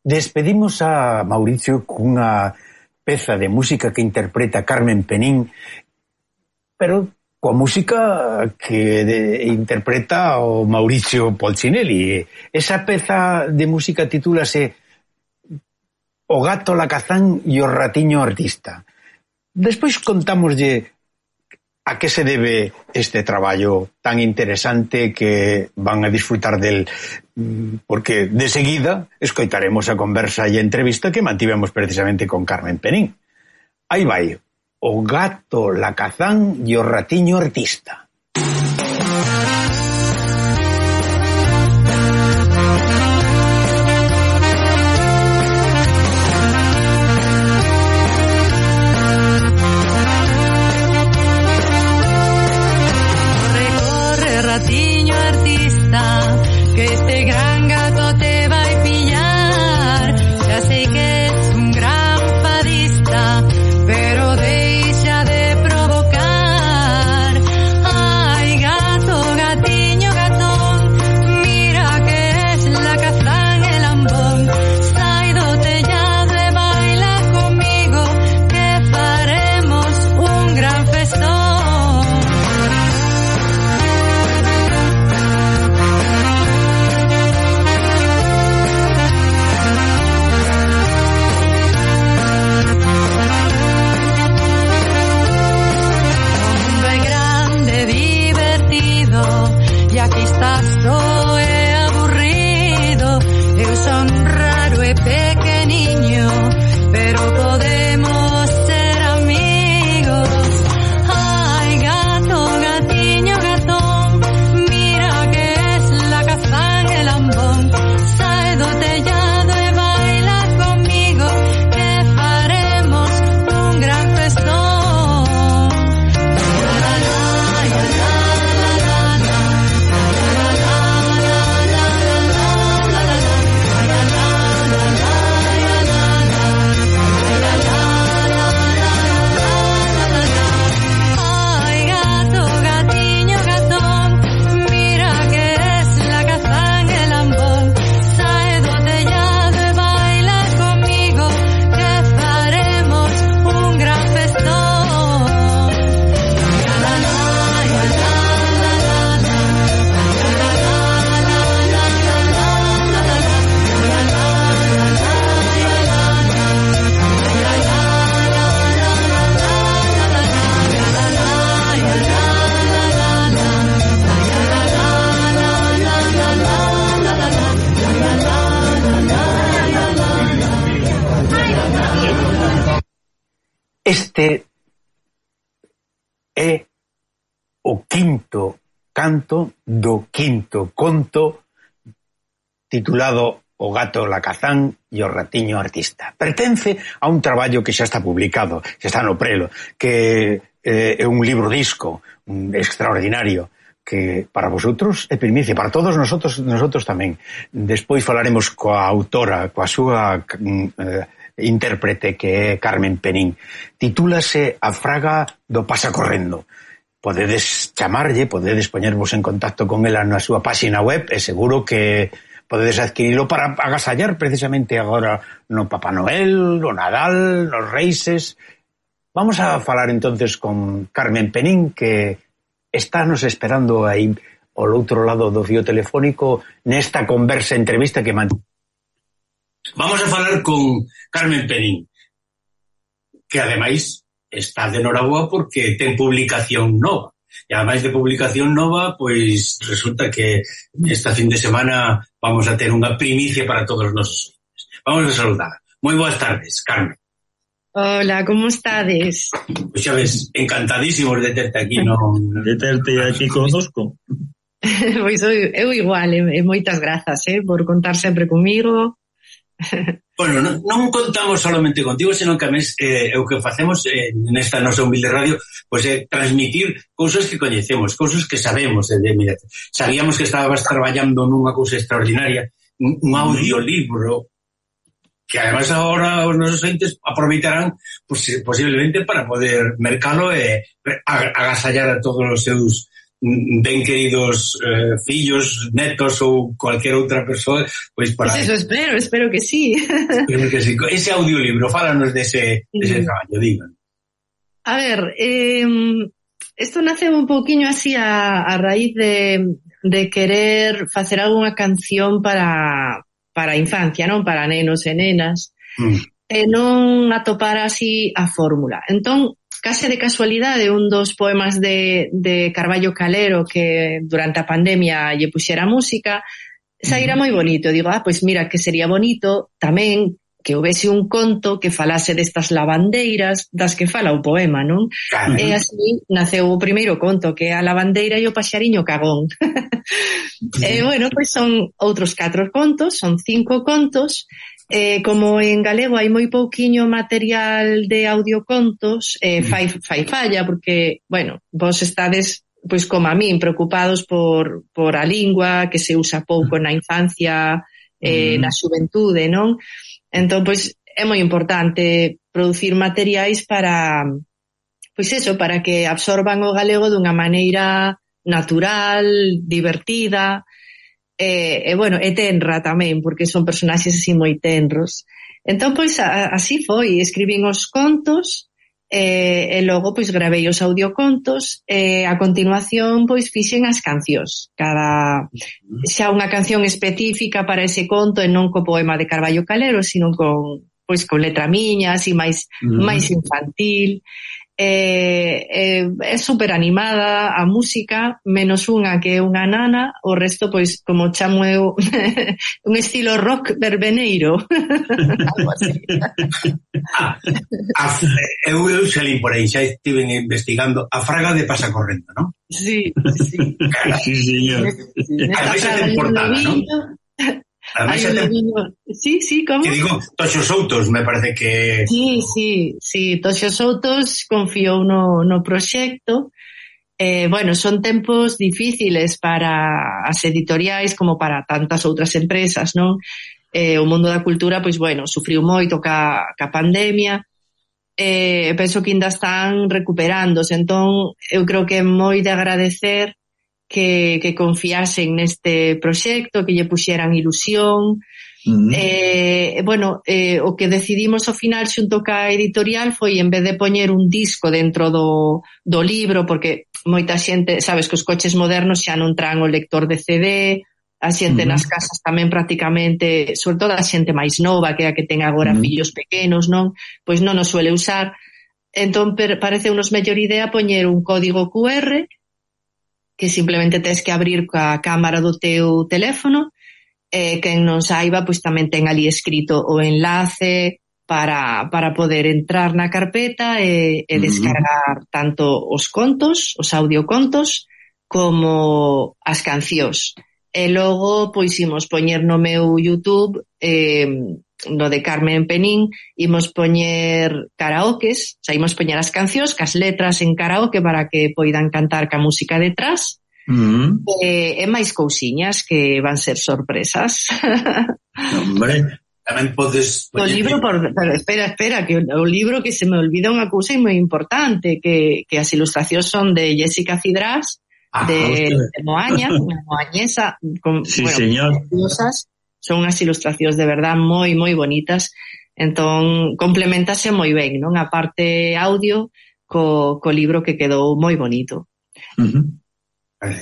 Despedimos a Mauricio cunha peza de música que interpreta Carmen Penín, pero coa música que interpreta o Mauricio Polchinelli. Esa peza de música titúlase O gato lacazán e o ratiño artista. Despois contámoslle a que se debe este traballo tan interesante que van a disfrutar del, porque de seguida escoitaremos a conversa e a entrevista que mantivemos precisamente con Carmen Penín. Aí vai, o gato lacazán e o ratiño artista. Ratiño artista, que este gran gato te va a pillar. Ya sé que es un gran fadista, pero deixa de provocar. Ay, gato, gatiño, gatón, mira que es la cazán el ambón. Sai do tellado e baila conmigo, que faremos un gran festón. E aquí estás só e aburrido. Eu son raro e pequeniño, pero podemos ser amigos. Ay, gato, gatiño, gatón, mira que es la cazán el ambón. Sae do tellado e baila conmigo, que faremos un gran festón. Este é o quinto canto do quinto conto titulado O gato lacazán e o ratiño artista. Pertence a un traballo que xa está publicado, xa está no prelo, que é un libro disco extraordinario, que para vosotros é primicia, para todos nosotros tamén. Despois falaremos coa autora, coa súa intérprete, que é Carmen Penín. Titúlase A fraga do pasa correndo. Podedes chamarlle, podedes poñervos en contacto con ela na súa páxina web e seguro que podedes adquirilo para agasallar precisamente agora no Papá Noel, no Nadal, nos Reises. Vamos a falar entonces con Carmen Penín, que está nos esperando aí ao outro lado do fío telefónico nesta conversa, entrevista que Vamos a falar con Carmen Penín, que ademais está de noraboa porque ten publicación nova. E ademais de publicación nova, pois resulta que esta fin de semana vamos a ter unha primicia para todos os nosos ointes. Vamos a saludar. Moi boas tardes, Carmen. Hola, como estades? Pois xa ves, encantadísimos de terte aquí, non? De terte aquí connosco. Pois eu igual, e moitas grazas, por contar sempre comigo. Bueno, non contamos solamente contigo, senón que a mes o que facemos nesta nosa humilde radio pois é transmitir cousas que coñecemos, cousas que sabemos. Mira, sabíamos que estabas traballando nunha cousa extraordinaria, un audiolibro que además agora os nosos entes aproveitarán posiblemente para poder mercalo e agasallar a todos os seus ben queridos fillos, netos ou cualquier outra persoa, pois para... Pues eso espero que sí. Espero que sí. Ese audiolibro, fálanos dese traballo, digan. A ver, esto nace un poquinho así a raíz de querer facer algunha canción para a infancia, non? Para nenos e nenas. E non atopar así a fórmula. Entón, case de casualidade, un dos poemas de Carballo Calero que durante a pandemia lle puxera música, saíra moi bonito. Digo, pois mira, que sería bonito tamén que houvese un conto que falase destas lavandeiras das que fala o poema, non? Claro. E así naceu o primeiro conto, que é a lavandeira e o paxariño cagón. E, bueno, pois son outros 4 contos, son 5 contos. Como en galego hai moi pouquiño material de audiocontos, fai falla, porque, bueno, vos estades, pois como a min, preocupados por a lingua, que se usa pouco na infancia, na xuventude, non? Entón, pois, é moi importante producir materiais para, pois eso, para que absorban o galego dunha maneira natural, divertida, bueno, e tenra tamén, porque son personaxes así moi tenros. Entón, pois, así foi, escribín os contos, e logo, pois, gravei os audiocontos, e a continuación, pois, fixen as cancións. Xa unha canción específica para ese conto e non co poema de Carballo Calero, sino con letra miña, así máis infantil. É super animada a música, menos unha que é unha nana, o resto, pois, como chamo eu, un estilo rock verbeneiro. Algo así. Eu xa li por aí, xa estiven investigando a fraga de Pasacorrendo, non? Sí. Sí, señor. Ademais é temportada, non? Sí, como? Que digo, Toxo Soutos, me parece que... Sí, Toxo Soutos confiou no proxecto. Bueno, son tempos difíciles para as editoriais como para tantas outras empresas, non? O mundo da cultura, pois, bueno, sufriu moito ca pandemia. Penso que ainda están recuperándose, entón eu creo que é moi de agradecer que confiasen neste proxecto, que lle puxeran ilusión. Bueno, o que decidimos ao final xunto ca editorial foi, en vez de poñer un disco dentro do libro, porque moita xente, sabes que os coches modernos xa non traen o lector de CD, a xente nas casas tamén prácticamente, sobre todo a xente máis nova, que é a que ten agora fillos pequenos, non? Pois non os suele usar. Entón, parece unos mellor idea poñer un código QR que simplemente tens que abrir coa cámara do teu teléfono, quen non saiba, pois tamén ten ali escrito o enlace para poder entrar na carpeta e descargar tanto os contos, os audiocontos, como as cancións. E logo, pois, imos poñer no meu YouTube, no de Carmen Penín, imos poñer karaokes, o sea, imos poñer as cancións, cas letras en karaoke para que poidan cantar ca música detrás, e máis cousiñas que van ser sorpresas. Hombre, tamén podes... O libro, pero espera, que o libro, que se me olvida unha cousa moi importante, que as ilustracións son de Jessica Cidrás, de Moaña, unha moañesa, sí, bueno, señor. Son unhas ilustracións de verdad moi, moi bonitas. Entón, complementase moi ben, non? A parte audio co libro, que quedou moi bonito. Vale.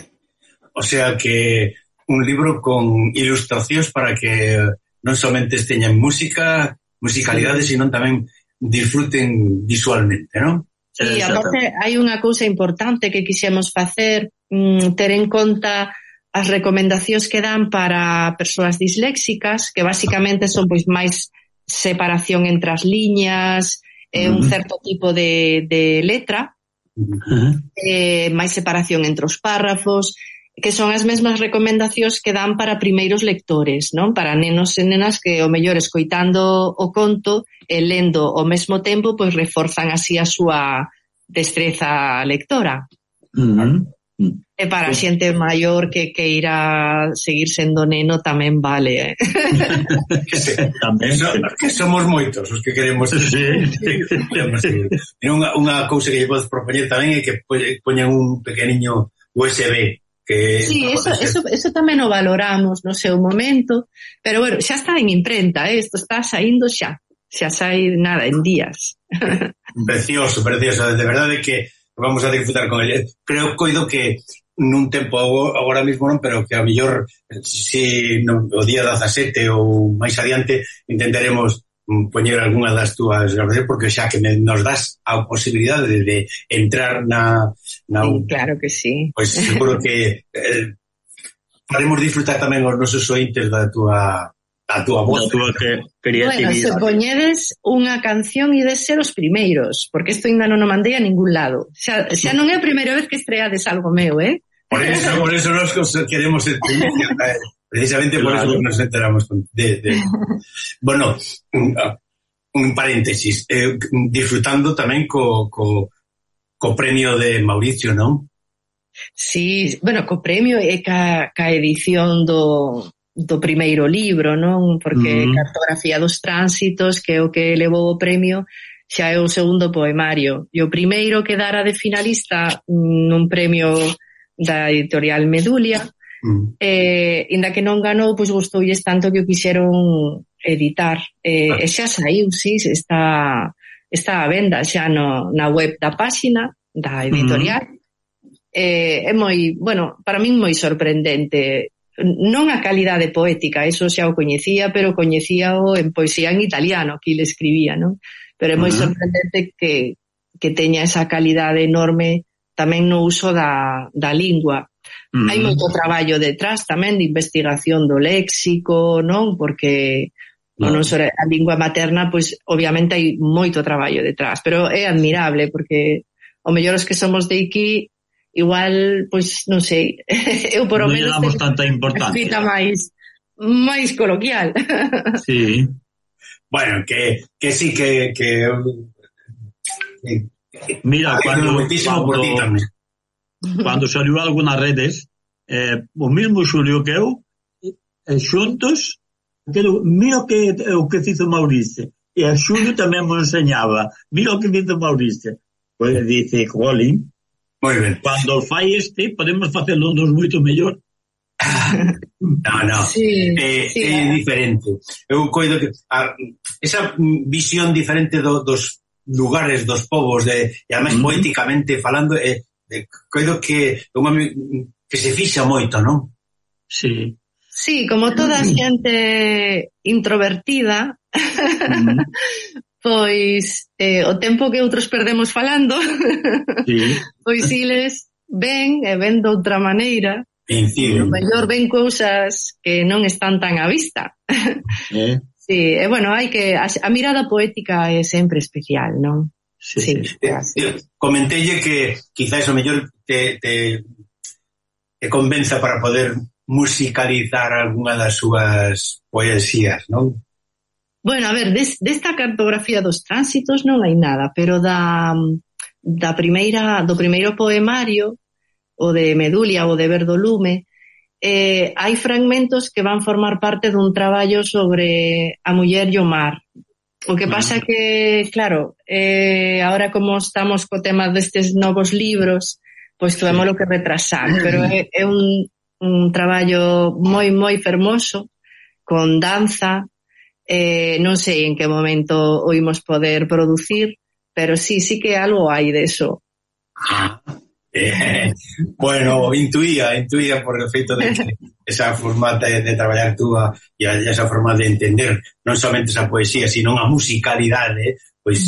O sea que un libro con ilustracións para que non somente teñan musicalidade, sino tamén disfruten visualmente, non? Sí, aparte hai unha cousa importante que quixemos facer, ter en conta as recomendacións que dan para persoas disléxicas, que basicamente son, pois, máis separación entre as liñas, un certo tipo de letra, máis separación entre os párrafos, que son as mesmas recomendacións que dan para primeiros lectores, non? Para nenos e nenas que, o mellor, escoitando o conto e lendo ao mesmo tempo, pois reforzan así a súa destreza lectora. E para a xente maior que queira seguir sendo neno tamén vale. Que somos moitos os que queremos. Unha cousa que lle podes propoñer tamén é que poñan un pequeniño USB. Que sí, eso tamén o valoramos no seu momento, pero bueno, xa está en imprenta, isto está saindo xa sai nada, en días. Precioso, de verdade que vamos a disfrutar con ele. Creo que nun tempo agora mesmo non, pero que a mellor si no, o día 17 ou máis adiante intentaremos poñer algunha das túas grabacións, porque xa que nos das a posibilidade de entrar na sí, claro que sí. Pois seguro que faremos disfrutar tamén os nosos ointes da túa voz. Da túa creatividade. Bueno, se poñedes unha canción e de ser os primeiros, porque isto ainda non o mandei a ningún lado. Xa non é a primeira vez que estreades algo meu, Por eso nos queremos precisamente por eso nos enteramos Bueno, un paréntesis, disfrutando tamén co premio de Mauricio, non? Sí, bueno, co premio e ca edición do primeiro libro, non? Porque Cartografía dos Tránsitos, que é o que levou o premio, xa é o segundo poemario. E o primeiro quedara de finalista nun premio da editorial Medulia, inda que non ganou, pois gustoulles tanto que o quixeron editar. E xa saiu, sí, está a venda xa na web da páxina da editorial. É moi, bueno, para min moi sorprendente. Non a calidade poética, eso xa o coñecía, pero coñecíao en poesía en italiano, que ele escribía, non? Pero é moi sorprendente que teña esa calidade enorme tamén no uso da lingua. Hai moito traballo detrás tamén de investigación do léxico, non? Porque non só a lingua materna, pois obviamente hai moito traballo detrás, pero é admirable porque o mellor os que somos de aquí igual, pois non sei, eu por o menos non damos tanta importancia, máis coloquial. Sí. Bueno, que sí que mira, cando saliu algo nas redes, o mismo Xulio que eu, xuntos, mira o que fizo Mauricio, e a Xulio tamén me enseñaba, mira o que fizo Mauricio. Pois dice, Colin, cando fai podemos facelo nos moito mellor. No, sí, é diferente. Eu coido que esa visión diferente dos lugares, dos povos, e además poéticamente falando, coido que se fixa moito, non? Sí. Sí, como toda a xente introvertida, pois o tempo que outros perdemos falando, pois iles ven de outra maneira, o mellor ven cousas que non están tan á vista. Sí, bueno, hai que a mirada poética é sempre especial, non? Sí. Comentelle que quizás o mellor te convenza para poder musicalizar algunha das súas poesías, non? Bueno, a ver, desta Cartografía dos Tránsitos non hai nada, pero do primeiro poemario, o de Medulia, o de Verdolume, hai fragmentos que van formar parte dun traballo sobre a muller e o mar. O que pasa que, claro, ahora como estamos co tema destes novos libros, pois tuvemos que retrasar, pero é un traballo moi, moi fermoso, con danza, non sei en que momento o imos poder producir, pero sí que algo hai de eso. Bueno, intuía por el feito de que esa forma de traballar túa e esa forma de entender non somente esa poesía, sino a musicalidade, pois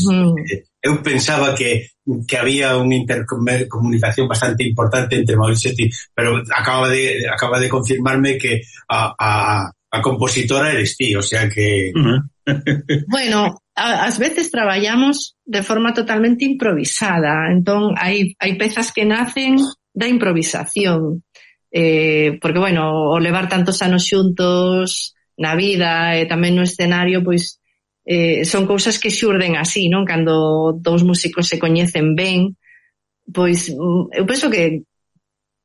eu pensaba que había unha intercomunicación bastante importante entre Mauricio e ti, pero acaba de confirmarme que a compositora eres ti, o sea que... Bueno, ás veces traballamos de forma totalmente improvisada, entón hai pezas que nacen da improvisación, porque, bueno, o levar tantos anos xuntos na vida e tamén no escenario, pois son cousas que xurden así, non? Cando dous músicos se coñecen ben, pois eu penso que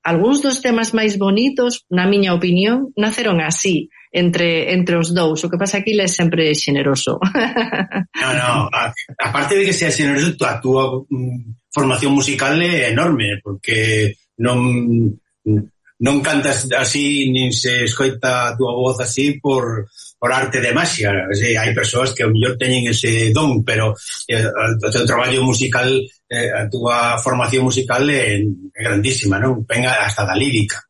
algúns dos temas máis bonitos, na miña opinión, naceron así, entre os dous. O que pasa aquí é sempre xeneroso. No, aparte de que sea xeneroso, a túa formación musical é enorme, porque non cantas así, nin se escoita a túa voz así por arte de magia. Hai persoas que ao mellor teñen ese don, pero o teu traballo musical, a túa formación musical é grandísima, non? Venga hasta da lírica.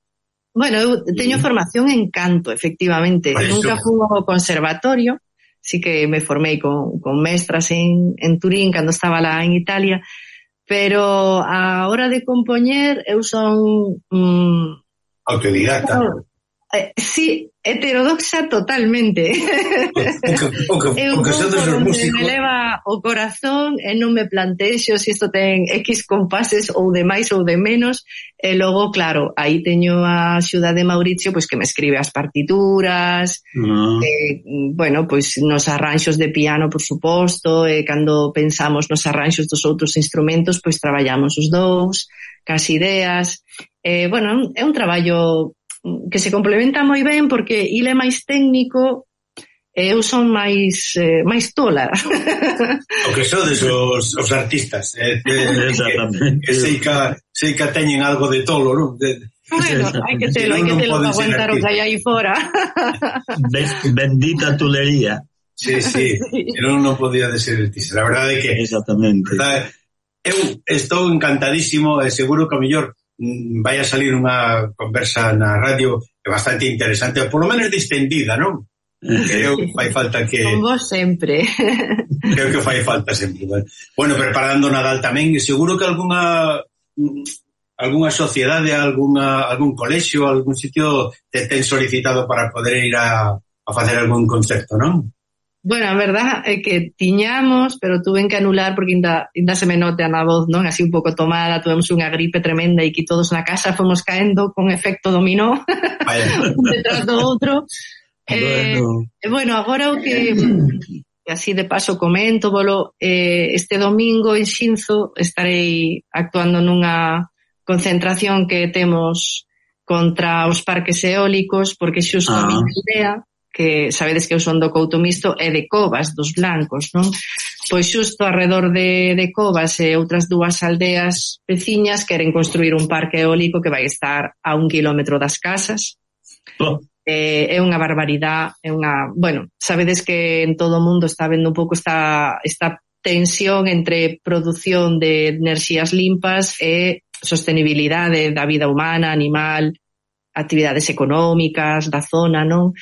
Bueno, eu teño formación en canto, efectivamente. Nunca fui ao conservatorio, sí que me formei con mestras en Turín cando estaba lá en Italia, pero a hora de compoñer eu son... autodidacta. Sí, heterodoxa totalmente. O que son dos músicos. Me leva o corazón e non me plantexo se isto ten X compases ou de máis ou de menos, e logo, claro, aí teño a axuda de Mauricio, pois que me escribe as partituras, bueno, pois nos arranxos de piano, por suposto, e cando pensamos nos arranxos dos outros instrumentos, pois traballamos os dous, cas ideas. Bueno, é un traballo que se complementa moi ben porque ele é máis técnico e eu son máis tola. O que sodes os artistas. Exactamente. Sei que teñen algo de tolo, non? Bueno, hai que telo para aguantar o que hai aí fora. Bendita tulería. Sí, non podía de ser artista. La verdade é que... Exactamente. Eu estou encantadísimo e seguro que a mellor vai a salir unha conversa na radio bastante interesante, ou polo menos distendida, non? Creo que fai falta que... Con vos sempre. Creo que fai falta sempre. Bueno, preparando Nadal tamén, seguro que algunha sociedade, algún colexio, algún sitio te ten solicitado para poder ir a facer algún concerto, non? Bueno, a verdad é que tiñamos, pero tuven que anular porque ainda se me note na voz, non? Así un pouco tomada, tuvemos unha gripe tremenda e que todos na casa fomos caendo con efecto dominó, un detrás do outro. Bueno, agora o que así de paso comento, este domingo en Xinzo estarei actuando nunha concentración que temos contra os parques eólicos, porque xusto a miña idea, que sabedes que eu son do Couto Misto, é de Covas, dos blancos, non? Pois xusto alrededor de Covas e outras dúas aldeas veciñas queren construir un parque eólico que vai estar a 1 kilómetro das casas. É unha barbaridade, bueno, sabedes que en todo o mundo está vendo un pouco esta tensión entre produción de enerxías limpas e sostenibilidade da vida humana, animal, actividades económicas da zona, non?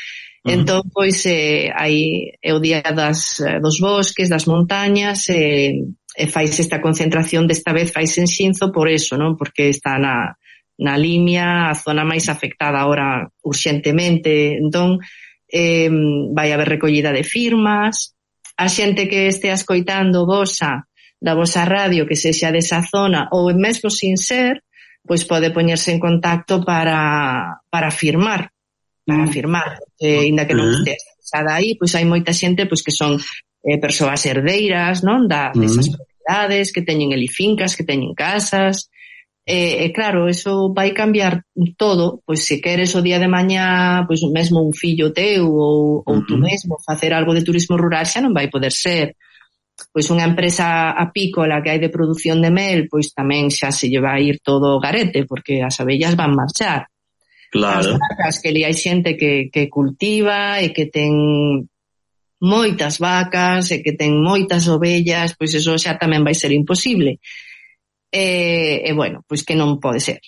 Entón, pois, hai o día dos bosques, das montañas, e faise esta concentración, desta vez faise en Xinzo por eso, non? Porque está na Limia, a zona máis afectada ahora urxentemente. Entón, vai haber recollida de firmas, a xente que estea escoitando da vosa radio, que sexa desa zona, ou mesmo sin ser, pois pode poñerse en contacto para firmar. Ainda que non estea expresada aí, pois hai moita xente pois que son persoas herdeiras, non? Desas propiedades, que teñen fincas, que teñen casas, e claro, eso vai cambiar todo, pois se queres o día de mañá, pois mesmo un fillo teu ou tú mesmo facer algo de turismo rural xa non vai poder ser. Pois unha empresa apícola que hai de produción de mel, pois tamén xa se lle vai ir todo garete, porque as abellas van marchar. Claro. As vacas, que li hai xente que cultiva e que ten moitas vacas e que ten moitas ovellas, pois eso xa tamén vai ser imposible. E bueno, pois que non pode ser.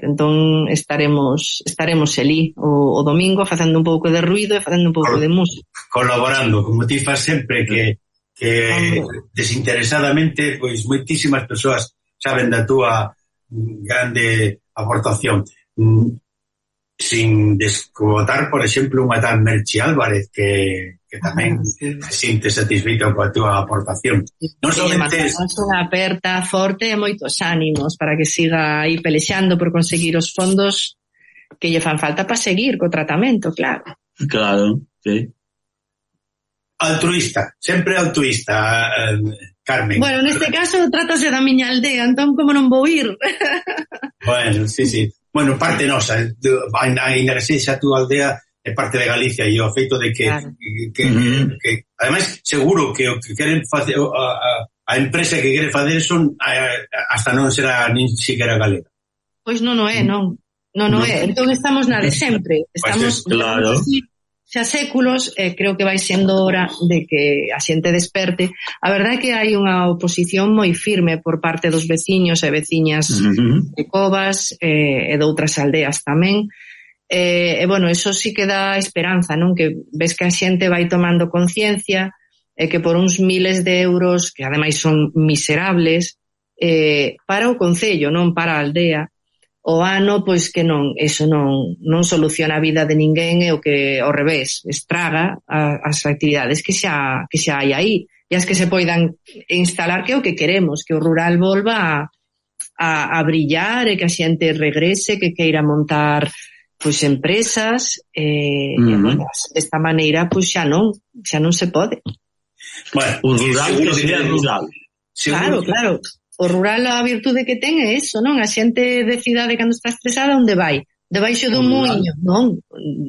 Entón estaremos elí o domingo facendo un pouco de ruido e facendo un pouco de música. Colaborando, como ti faz sempre, que desinteresadamente, pois moitísimas persoas saben da túa grande aportación. Sin descotar, por exemplo, unha tal Merchi Álvarez que tamén se sinte satisfeita coa túa aportación. Non somente unha aperta forte e moitos ánimos para que siga aí pelexando por conseguir os fondos que lle fan falta para seguir co tratamento, claro. Claro, sí. Altruista, sempre altruista, Carmen. Bueno, neste caso trátase da miña aldea, entón como non vou ir? Bueno, sí. Bueno, parte nosa, ainda que sexa a túa aldea, é parte de Galicia, e o feito de que, claro, que ademais, seguro que o que queren facer, a empresa que quere facer son hasta non será nin siquiera galega. Pois non é, non. Non é. Entón estamos na de sempre. Estamos claro. Xa séculos, creo que vai sendo hora de que a xente desperte. A verdade é que hai unha oposición moi firme por parte dos veciños e veciñas de Covas e de outras aldeas tamén. E, bueno, eso sí que dá esperanza, non? Que ves que a xente vai tomando conciencia e que por uns miles de euros, que ademais son miserables, para o concello, non para a aldea, o ano, pois que non, eso non soluciona a vida de ninguén, e o que ao revés, estraga as actividades que xa hai aí, e as que se poidan instalar, que é o que queremos, que o rural volva a brillar, e que a xente regrese, que queira montar pois empresas, e bueno, desta maneira pois xa non se pode. Bueno, o rural que sea rural. Claro. O rural, a virtude que ten é eso, non? A xente de cidade, cando está estresada, onde vai? Debaixo dun muiño, non?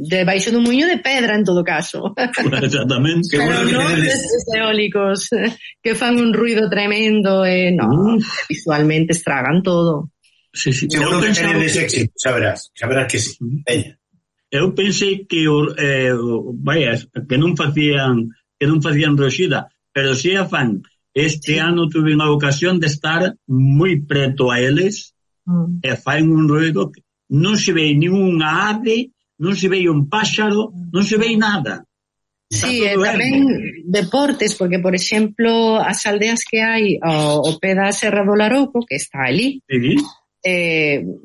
Debaixo dun muiño de pedra, en todo caso. Exactamente. Pero non destes eólicos que fan un ruido tremendo e non, visualmente estragan todo. Sí. Seguro que tenedes éxito, saberás que sí. Veña. Eu pensei que que non facían roxida, pero si a fan. Este ano tuve unha ocasión de estar moi preto a eles e faen un ruido que non se ve ninguna ave, non se ve un páxaro, non se ve nada. Sí, e tamén deportes, porque, por exemplo, as aldeas que hai ao pé da Serra do Larouco, que está ali,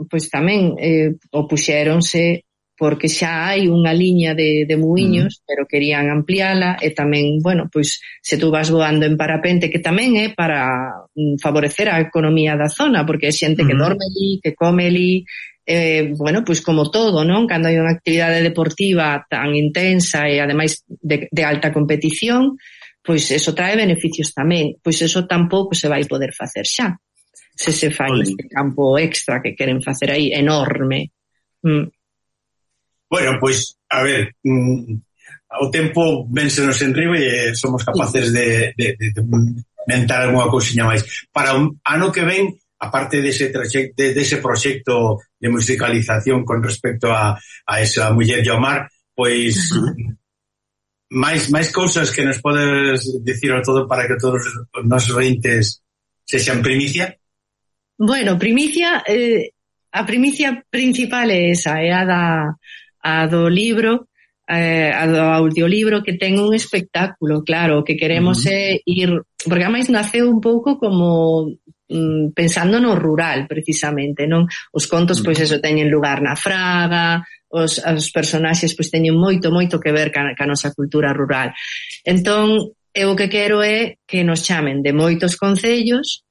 pois tamén opuxéronse porque xa hai unha liña de muiños, pero querían ampliala, e tamén, bueno, pois se tú vas voando en parapente, que tamén é para favorecer a economía da zona, porque é xente que dorme ali, que come ali, bueno, pois como todo, non? Cando hai unha actividade deportiva tan intensa e ademais de alta competición, pois eso trae beneficios tamén. Pois eso tampouco se vai poder facer xa, se fai este campo extra que queren facer aí, enorme. Bueno, pois, a ver, o tempo vénsenos en riba e somos capaces de mentar algunha cousiña máis. Para o ano que ven, aparte dese proxecto de musicalización con respecto a esa muller e ao mar, pois máis cousas que nos podes dicir ao todo para que todos os nosos ointes sexan primicia? Bueno, primicia, a primicia principal é esa, é a do libro, a do audiolibro, que ten un espectáculo, claro, que queremos é ir, porque ademais naceu un pouco como pensando no rural, precisamente, non? Os contos, pois eso, teñen lugar na Fraga, os personaxes pois teñen moito que ver ca nosa cultura rural. Entón, eu o que quero é que nos chamen de moitos concellos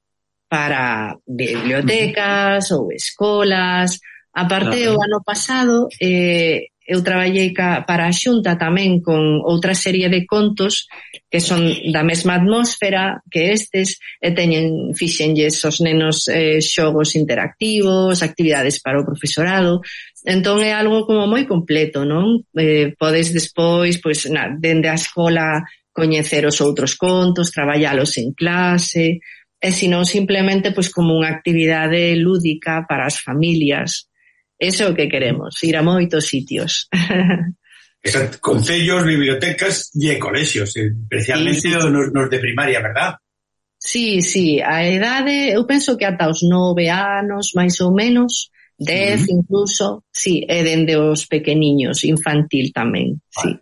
para bibliotecas ou escolas. A parte, o ano pasado eu traballei para a Xunta tamén con outra serie de contos que son da mesma atmósfera que estes, e fixenlles os nenos xogos interactivos, actividades para o profesorado. Entón é algo como moi completo, non? Podes despois, pois, dende a escola, coñecer os outros contos, traballalos en clase, e senón simplemente pois como unha actividade lúdica para as familias. Eso é o que queremos, ir a moitos sitios. Exacto, concellos, bibliotecas e colexios, especialmente nos de primaria, verdad? Sí, a edade, eu penso que ata os 9 anos, máis ou menos, 10 incluso, sí, e dende os pequeniños, infantil tamén, sí.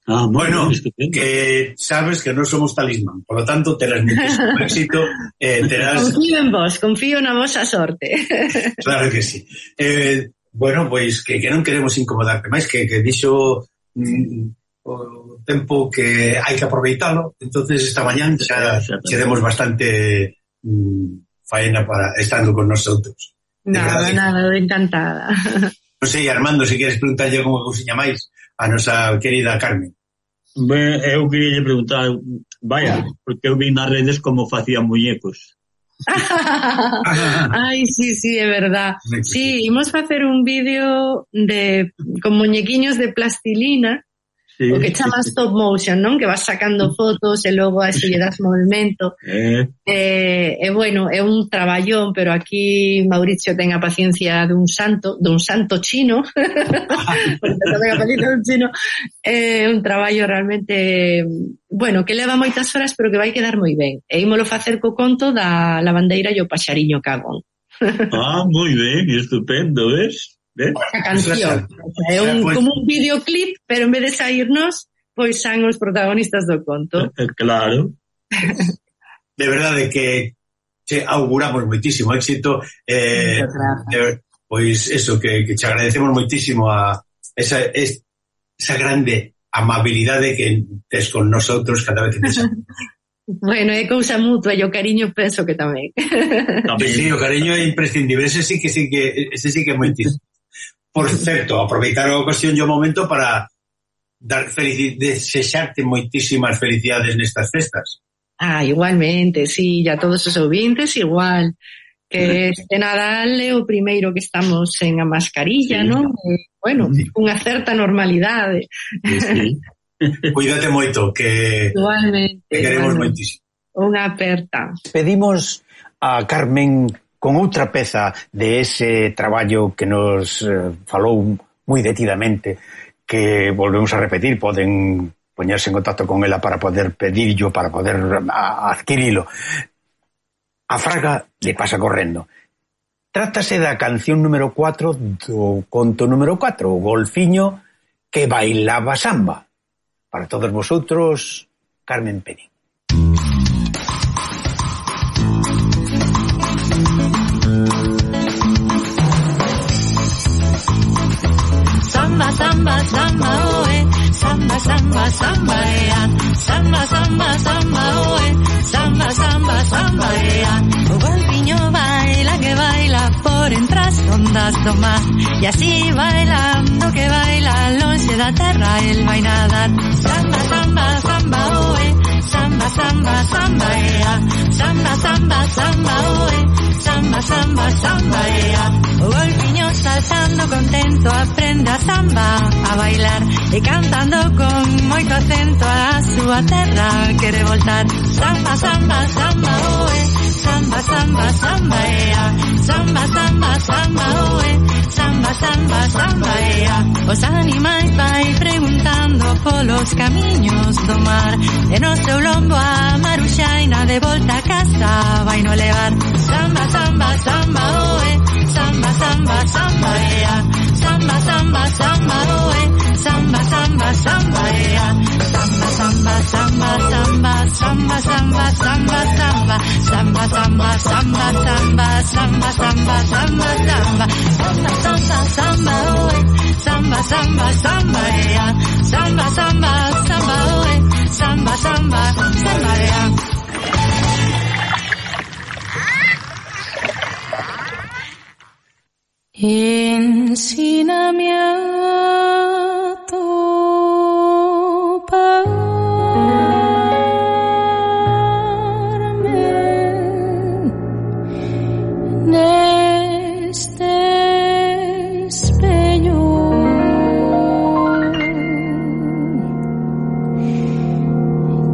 Bueno, que sabes que non somos talismán, por lo tanto terás muchísimo éxito, terás... Confío en vos, confío na vosa sorte. Claro que sí. Bueno, pois que non queremos incomodarte máis, que dixo o tempo que hai que aproveitalo, entonces esta mañán xa seremos bastante faena para estando con nosotros. Nada, encantada. Non sei, Armando, se queres preguntarlle alguma cousiña máis a nosa querida Carmen. Eu queria preguntar, porque eu vi nas redes como facían muñecos. Ai, sí, é verdad. Sí, imos facer un vídeo con muñequiños de plastilina Sí, o que chama stop motion, non? Que vas sacando fotos e logo a eso lle das movimento. Bueno, é un traballón, pero aquí Mauricio ten a paciencia dun santo chino, porque ten a paciencia dun chino, é un traballo realmente, bueno, que leva moitas horas, pero que vai quedar moi ben. E ímolo facer co conto da lavandeira e o paxariño cagón. Moi ben, estupendo, ves? A canción. É como un videoclip, pero en vez de saírnos, pois son os protagonistas do conto. Claro. De verdade que che auguramos moitísimo éxito. Pois eso, que te agradecemos moitísimo a esa grande amabilidade que tes con nosotros cada vez que te chamamos. Bueno, é cousa mutua e o cariño penso que tamén. Sí, o cariño é imprescindible, ese sí que é moitísimo. Por certo, aproveitar a ocasión e o momento para desexarte moitísimas felicidades nestas festas. Igualmente, sí, e a todos os ouvintes igual, que este Nadal é o primeiro que estamos en a mascarilla, sí, non? Bueno, unha certa normalidade. Sí. Cuídate moito, que igualmente, te queremos moitísimo. Unha aperta. Pedimos a Carmen con outra peza de ese traballo que nos falou moi detidamente, que volvemos a repetir, poden poñerse en contacto con ela para poder pedirlo, para poder adquirilo. A Fraga le pasa correndo. Trátase da canción número 4 do conto número 4, o golfiño que bailaba samba. Para todos vosotros, Carmen Penín. Samba, samba, samba, oe, samba, samba, samba, ea. Samba, samba, samba, oe, samba, samba, samba, ea. O golfiño baila que baila por entre as ondas do mar. E así bailando que baila lonxe da terra el vai nadar. Samba, samba, samba, oe, samba, samba, samba, ea. Samba, samba, samba, oe, samba, samba, samba, ea. O golfiño saltando contento aprende a samba a bailar e cantando con moito acento a súa terra quere voltar. Samba, samba, samba, oe, samba, samba, samba, ea. Samba, samba, samba, oe, samba, samba, samba, ea. Os animais vai preguntando polos camiños do mar e no seu lombo a maruxaina de volta a casa vai no levar. Samba, samba, samba, oe, samba, samba, samba, ea. Samba, samba, samba, oe, samba, samba, samba, ea. Samba, samba, samba, samba, samba, samba, samba, samba. Samba, samba, samba, samba, samba, samba, samba, samba. Samba, samba, samba, oe, samba, samba, samba, ea. Samba, samba, samba, oe, samba, samba, samba, ea. Ensíname a toparme neste espello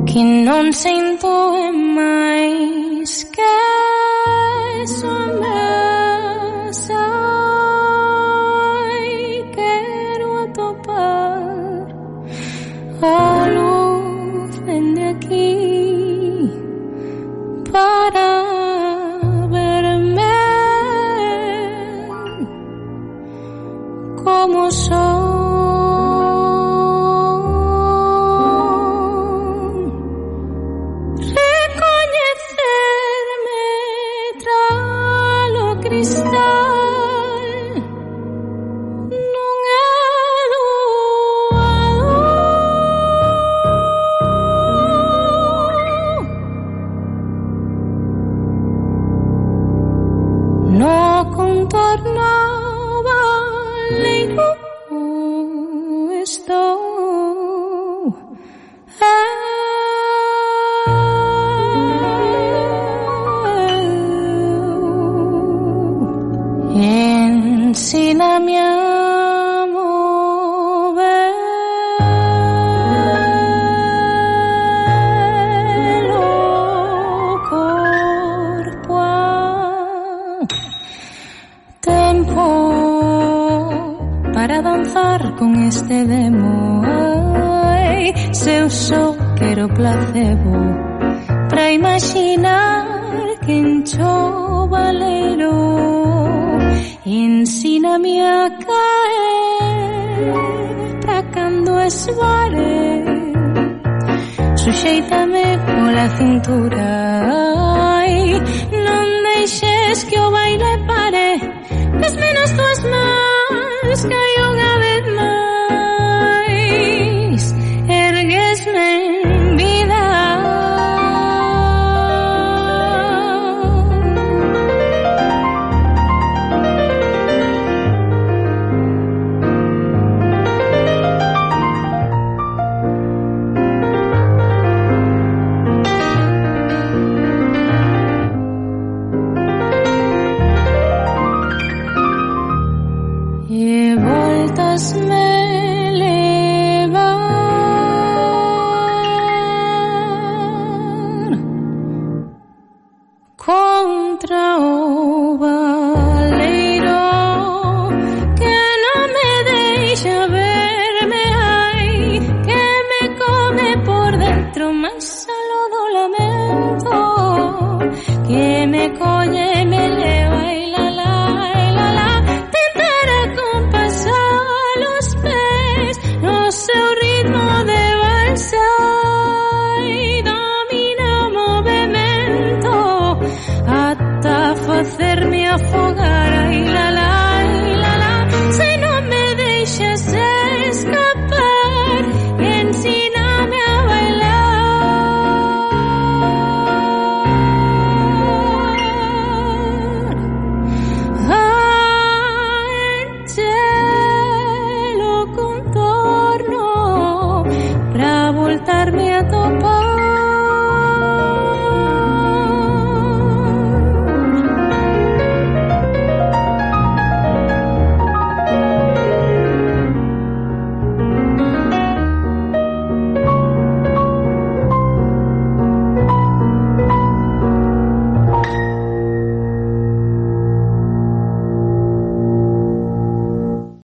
que non sinto máis que sombras. A luz de aquí para verme como son, recoñecerme tras placebo pra imaginar que encho valero. Ensíname a caer pra cando esvare. Suxeítame pola cintura, ai, non deixes que o baile pare. Desme nas tuas mans que hai unha vez máis, erguesme en vida. Mas